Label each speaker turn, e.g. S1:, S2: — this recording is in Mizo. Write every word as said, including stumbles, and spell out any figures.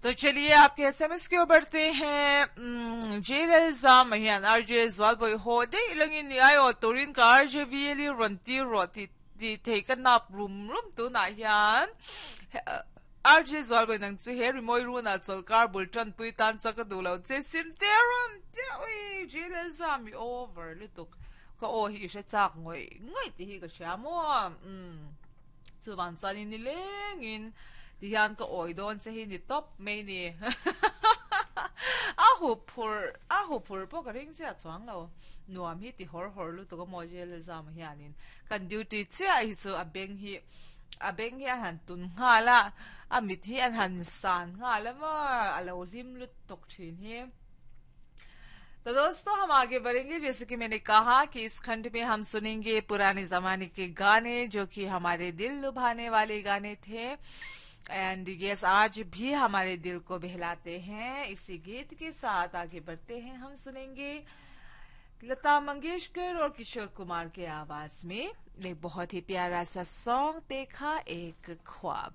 S1: तो चलिए आपके एसएमएस की ओर बढ़ते हैं। J Lalzama hian R J Zualbawih haw daih langin ni ai aw turin ka R J V L rawn tir rawh tih tih thei ka nap rum rum tunah hian R J Zualbawih nang chu he rimawi runah chawlhkar bul tanpui tan chuan ka duh lo che sim te rawn tia ui J Lalzam i over lutuk ka aw hi i hre chak ngawih ngawih tih hi ka hria maw um chuvan chuanin ni lengin tihian ka awi dawn che hi ni tawp mai ni a hu phur a hu phur pawh ka ring chiah chuang lo nuam hi ti hawr hawr lutuk a maw J Lalzama hianin kan duty chiah hi chu a beng hi a beng hi a han tun nghal a a mit hi an han san nghal a maw a lo hlim lutuk thin hi। तो दोस्तों, हम आगे बढ़ेंगे। जैसे कि मैंने कहा कि इस खंड में हम सुनेंगे पुराने जमाने के गाने, जो कि हमारे दिल लुभाने वाले गाने थे एंड यस, आज भी हमारे दिल को बहलाते हैं। इसी गीत के साथ आगे बढ़ते हैं। हम सुनेंगे लता मंगेशकर और किशोर कुमार के आवाज में एक बहुत ही प्यारा सा सॉन्ग, देखा एक ख्वाब।